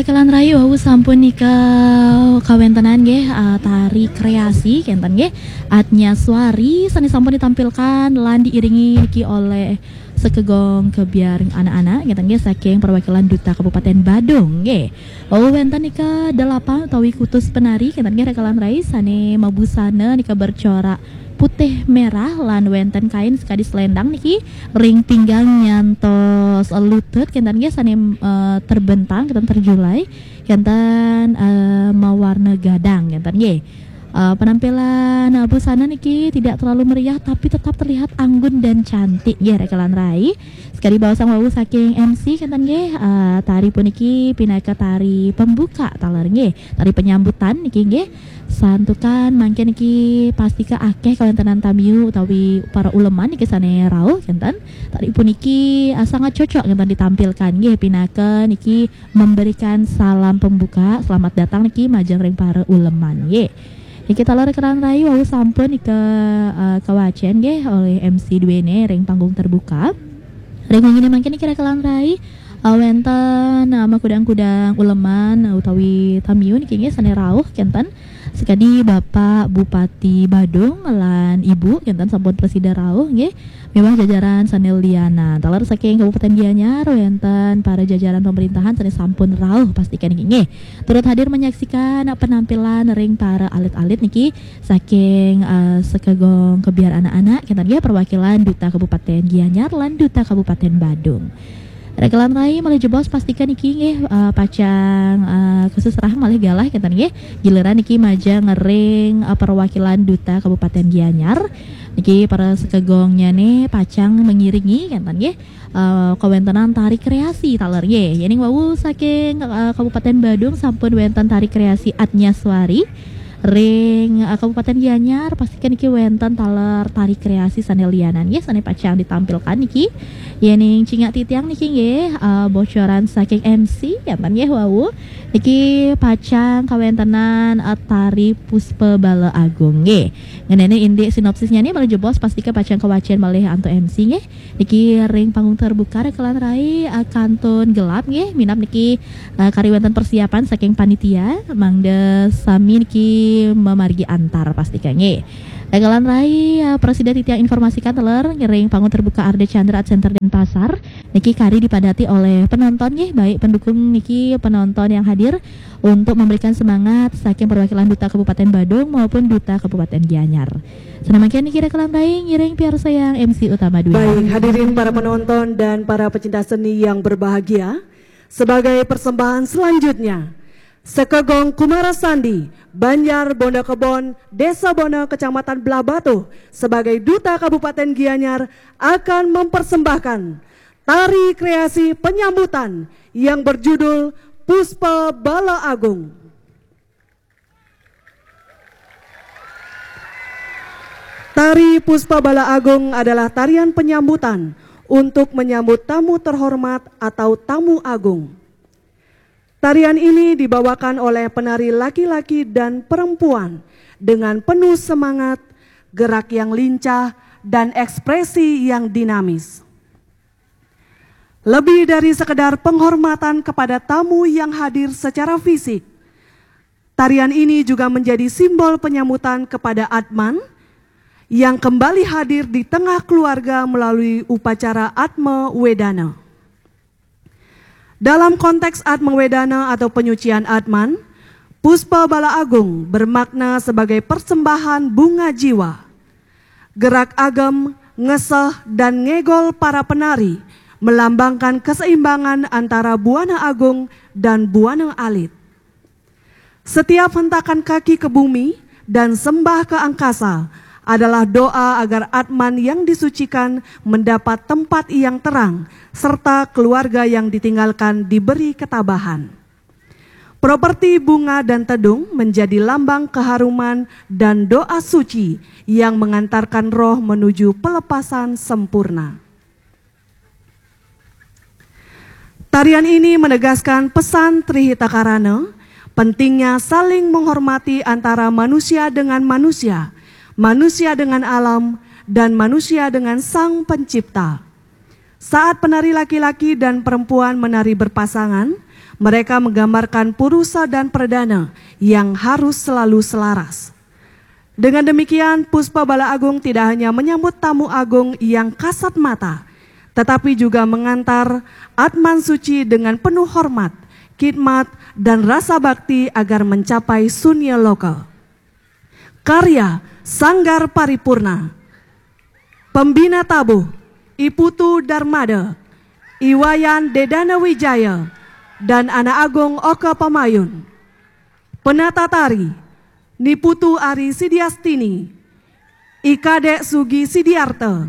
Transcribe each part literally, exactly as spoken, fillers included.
Kelan rai wau sampun nika kawentenan nggih, eh, tari kreasi kenten nggih. Atnya Suari sane sampun ditampilkan lan diiringi niki oleh sekegong kebiar anak-anak kenten nggih saking perwakilan Duta Kabupaten Badung nggih. Wau wenten nika delapan utawi kutus penari kenten nggih rekelan rai sane mabusana nika bercorak putih merah lan wenten kain sekadi selendang niki ring pinggang nyantos lutut kenten nggih sane, eh, terbentang kenten terjulai kenten, eh, mawarna gadang kenten nggih. Eh, penampilan, eh, busana niki tidak terlalu meriah tapi tetap terlihat anggun dan cantik nggih rekelan rai. Sekadi baosang wau saking M C kenten nggih, eh, tari puniki pinaka tari pembuka taler nggih, tari penyambutan niki nggih. Santukan mangke niki pastika akeh kawentenan tamiu utawi para uleman niki sane rauh kenten. Tari puniki, eh, sangat cocok kenten ditampilkan nggih pinaka niki memberikan salam pembuka, selamat datang niki majeng ring para uleman nggih. Niki taler rekelan rai wau sampun nika, eh, kawacen nggih oleh M C duene ring panggung terbuka. Ring wengi mangke niki rekelan rai, eh, wenten, eh, makudang-kudang uleman, eh, utawi tamiu niki nggih sane rauh kenten. Sekadi Bapak Bupati Badung lan Ibu kenten sampun presida rauh nggih. Miwah jajaran sane lianan. Taler saking Kabupaten Gianyar wenten para jajaran pemerintahan sane sampun rauh pastika niki nggih. Turut hadir menyaksikan penampilan ring para alit-alit niki saking, eh, sekegong kebiar anak-anak kenten nggih perwakilan Duta Kabupaten Gianyar lan Duta Kabupaten Badung. Rekelan rai malih jebos pastika niki nggih, eh, pacang, eh, keseserah malih galah kenten nggih. Giliran niki majeng ring, eh, perwakilan Duta Kabupaten Gianyar. Niki para sekegongnyane pacang mengiringi kenten nggih, eh, kawentenan tari kreasi taler nggih. Yening wau saking, eh, Kabupaten Badung sampun wenten tari kreasi Atnya Suari. Ring, eh, Kabupaten Gianyar pastika niki wenten taler tari kreasi sane lianan nggih sane pacang ditampilkan niki. Yening cingak titiang niki nggih, eh, bocoran saking M C kenten nggih wau. Niki pacang kawentenan, eh, tari Puspa Bala Agung nggih. Ngenene indik sinopsisnya nih malih jebos pastika pacang kawacen malih antuk M C nggih. Niki ring panggung terbuka rekelan rai, eh, kantun gelap nggih. Minab niki, eh, kari wenten persiapan saking panitia mangda sami niki memargi antar pastika nggih. Rekelan rai, eh, presida titiang informasikan taler ring panggung terbuka Arda Chandra Art Center Denpasar niki kari dipadati oleh penonton nggih, baik pendukung niki penonton yang hadir untuk memberikan semangat saking perwakilan Duta Kabupaten Badung maupun Duta Kabupaten Gianyar. Senamakian niki rekelan rai ngiring piarsayang M C utama dunia. Baik, hadirin para penonton dan para pecinta seni yang berbahagia, sebagai persembahan selanjutnya, Sekegong Kumara Sandi, Banjar Bonda Kebon, Desa Bona, Kecamatan Blahbatuh, sebagai Duta Kabupaten Gianyar akan mempersembahkan tari kreasi penyambutan yang berjudul Puspa Bala Agung. Tari Puspa Bala Agung adalah tarian penyambutan untuk menyambut tamu terhormat atau tamu agung. Tarian ini dibawakan oleh penari laki-laki dan perempuan dengan penuh semangat, gerak yang lincah, dan ekspresi yang dinamis. Lebih dari sekedar penghormatan kepada tamu yang hadir secara fisik, tarian ini juga menjadi simbol penyambutan kepada Atman yang kembali hadir di tengah keluarga melalui upacara Atma Wedana. Dalam konteks Atma Wedana atau penyucian Atman, Puspa Bala Agung bermakna sebagai persembahan bunga jiwa. Gerak agem, ngeseh, dan ngegol para penari melambangkan keseimbangan antara buana agung dan buana alit. Setiap hentakan kaki ke bumi dan sembah ke angkasa adalah doa agar Atman yang disucikan mendapat tempat yang terang, serta keluarga yang ditinggalkan diberi ketabahan. Properti bunga dan tedung menjadi lambang keharuman dan doa suci yang mengantarkan roh menuju pelepasan sempurna. Tarian ini menegaskan pesan Tri Hita Karana, pentingnya saling menghormati antara manusia dengan manusia, manusia dengan alam, dan manusia dengan Sang Pencipta. Saat penari laki-laki dan perempuan menari berpasangan, Mereka menggambarkan purusa dan perdana yang harus selalu selaras. Dengan demikian, Puspa Bala Agung tidak hanya menyambut tamu agung yang kasat mata, tetapi juga mengantar atman suci dengan penuh hormat, khidmat, dan rasa bakti agar mencapai sunya loka. Karya Sanggar Paripurna. Pembina tabuh, I Putu Darmada, I Wayan Dedana Wijaya, dan Anak Agung Oka Pamayun. Penata tari, Ni Putu Ari Sidiastini, I Kadek Sugi Sidiarta,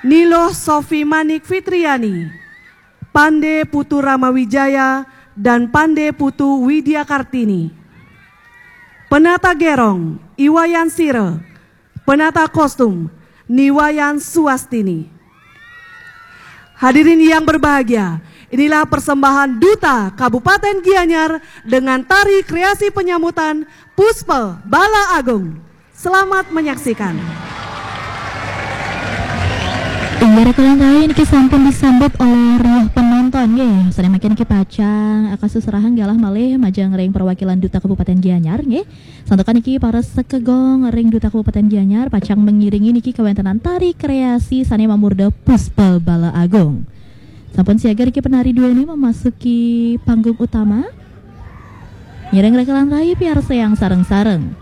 Ni Loh Sofi Manik Fitriani, Pande Putu Rama Wijaya, dan Pande Putu Widya Kartini. Penata gerong, I Wayan Sira. Penata kostum, Ni Wayan Suastini. Hadirin yang berbahagia, inilah persembahan Duta Kabupaten Gianyar dengan tari kreasi penyambutan Puspa Bala Agung. Selamat menyaksikan. Inggih, rekan-rekan, niki sampun disambut oleh riuh penonton nggih. Sané mangkin niki pacang, ah, kasusurahan galah malih majeng ring perwakilan Duta Kabupaten Gianyar nggih. Santukan niki para sekegong ring Duta Kabupaten Gianyar pacang mengiringi niki kawéntenan tari kreasi sané mamurda Puspa Bala Agung. Sampun siaga niki penari duéné memasuki panggung utama. Ngiring rekan-rekan piarsayang sareng-sareng.